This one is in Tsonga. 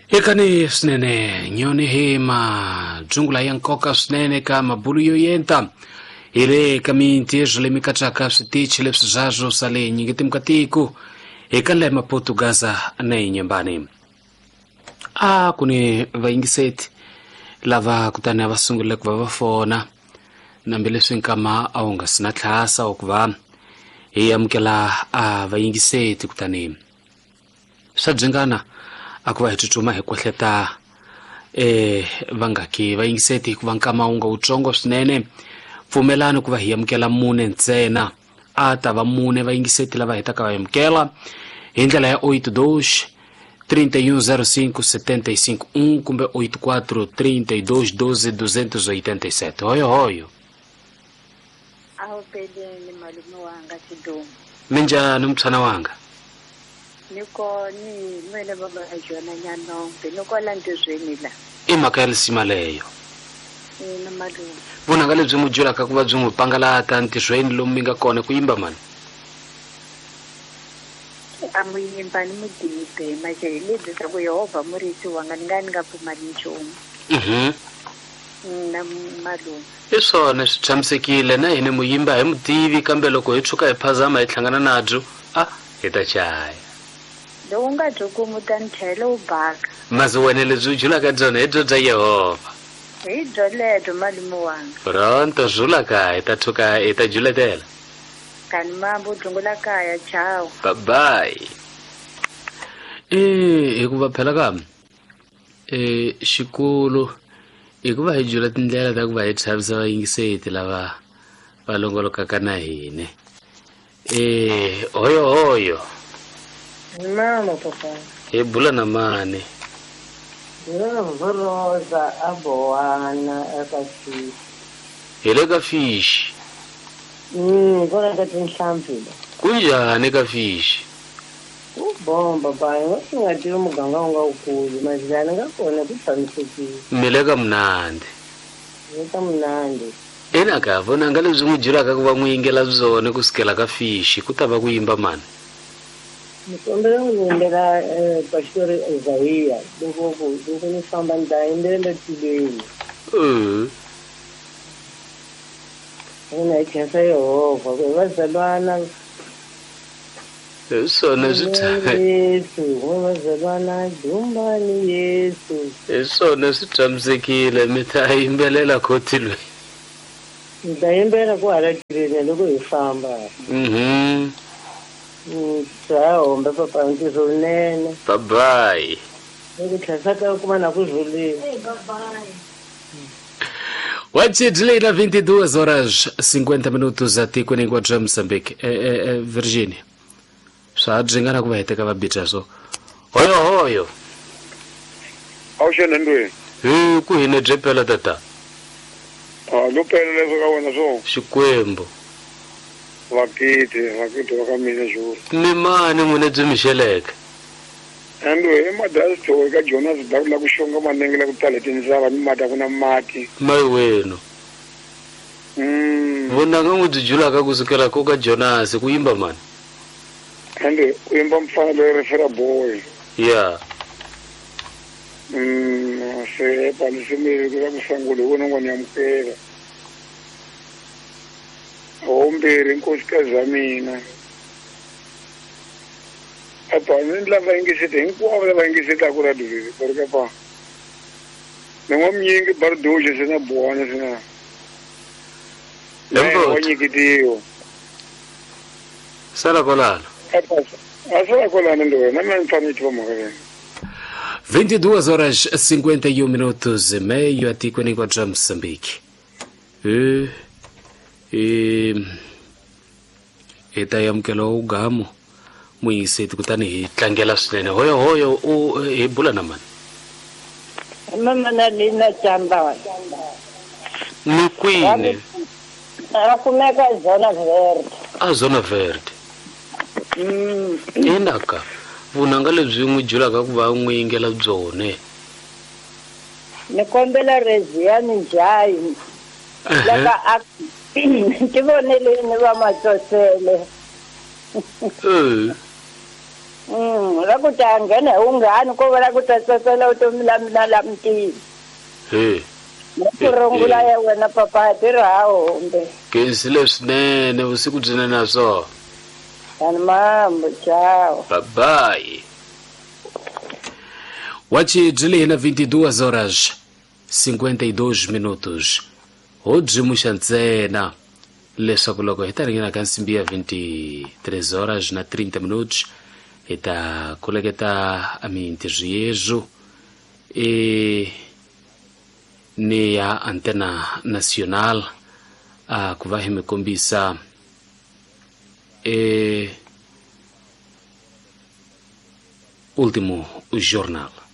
Hekani swinene nyoni hi madzungula ya nkoka swinene ka mabulu yo yenta hi le ka mintirho leyi mi katsaka switichi leswi zwazwo swa le nyingitimka ka tiko eka le Maputo, Gaza na Inhambane. A ku ni vayingiseti lava kutani a va sungurile ku va va fona nambileswi nkama a wu nga si na tlhasa wa ku va hi amukela a vayingiseti, kutani swa byingana a ku va hi tsutsuma hi kwehleta vangaki vayingiseti hikuva nkama wu nga wutsongo swinene. Pfumelani ku va hi amukela mune ntsena, a ta va mune vayingiseti lava hetaka va amukela hi ndlela ya 82 31 05 75 1 kumbe 84 32 12 287. Hoyo hoyo. Awupeleni malume wanga Chidumo. Minjhani mtshana wanga? Niko ni nwele baba Jona Nyanombe niko la ntirhweni la. I mhaka ya lisima leyo. Ina malume. Vunanga lebyi n'wi byelaka ku va byi n'wi pangalata ntirhweni lomu mi nga kona ku yimba mani? A mu yimba ni mudibe manje hi lebyi swa ku Yehovha murisi wanga ni nga ni nga pfumali nchumu. Na malume. I swona swi tshamisekile na hina mu yimba hi mutivi, kambe loko hi tshuka hi phazama hi hlangana nabyo a hi ta chaya. Loko u nga byi kumi u ta ni chayela u baka. Masi wena lebyi u julaka byona hi byo bya Yehovha. Hi byo lebyo malume wanga. Pronto zula ka hi ta tshuka hi ta juletela. Kani mambo dzungula kaya ciao. Bye bye. Hikuva phela ka xikulu hikuva hi jula tindlela ta ku va hi chavisa vayingiseti lava va longolokaka na hina. Hoyo hoyo. Mama papa. Hi bula na mani? Bula Rosa a bowana eka fish. Hi le ka fish. Kona ka tinhlampfi. Kunjhani ka fish? Ku bomba ba, nga swi nga tivi muganga wu nga wukulu, mazilani nga kona ku tshamisekile. Mi le ka munandi. Le ka munandi. Ina ka vonanga lebyi n'wi byelaka ku va n'wi yingela byona ku sukela ka fish, ku ta va ku yimba mani? Ni kombela n'wi yimbela Pastor Isaiah, loko ku loko ni famba ni ta yimbelela tilweni. Mina hi khensa Yehovha ku hi vazalwana. Hi swona swi Yesu, vazalwana dumbani Yesu. Hi swona swi tshamisekile, mi ta yimbelela khotilweni. Mi ta yimbelela ku hala tilweni loko hi famba. Bya hombe papa ntirho wunene. Bye bye. Loko tlhela ka kuma na ku rhulile. Bye bye. Wachidlina 22 horas 50 minutos atikweni hinkwabyo bya Mozambique. Virginia. Swa byingana ku va heteka va bitsa so. Hoyo hoyo. Awuxena ndweni. Hi ku hine bye pela tata. Ah, lo pela leswo ka wena so. Xikwembu. Vakiti va ka mina xo. Mi mani n'wina byi mixeleke? Ando i madasi ka Jonas da ku xonga manenge la ku tala tindzava ni mati a ku na mati. Mai wenu. Vonanga n'wi byi julaka ku sukela ko ka Jonas ku yimba mani? Ando u yimba mfana loyi refera boy. Yeah. Se palisi ku la ku sangule wona ngwana ya mukela. Hombirhi nkosikazi ya mina. Apa ni lava yingiseti hinkwavo lava yingisetaka radio leri va ri ka pa. Ni n'wa mnyingi Bardoje se na Buwana se na. Lembo. Wa nyikitiwa. Sala kwalano. Apa a sala kwalano ndo na mina ni fanele ni tiva mhaka leyi. 22 horas 51 minutos e meio atikweni hinkwabyo bya Mozambique. Hi ta amukela ugamo muyingiseti kutani hi tlangela swinene. Hoyo hoyo u hi bula na mani? Mama na Lina Chamba. Ni kwini? A kumeka Zona Verde. A Zona Verde. Inaka vunanga lebyi n'wi julaka ku va n'wi yingela byone. Ni kombela Reziani Njayi. Laka a ti voneleni va matsosele. Ra ku ta nghena hi wunghani ko va la ku ta tsatsela vutomi la mina la mutini. He. Ku rungula ya wena papa tirho ha humbe. Kensile swinene vusiku byinene na swona. Tani mambo, ciao. Bye bye. Wachi byi na 22 horas 52 minutos. Ho byimuxa ntsena leswaku loko hi ta ringena ka nsimbi ya 23 horas na 30 minutos hi ta koleketa mintirho yezu e ni ya Antena Nacional a ku va hi mi kombisa e último jornal.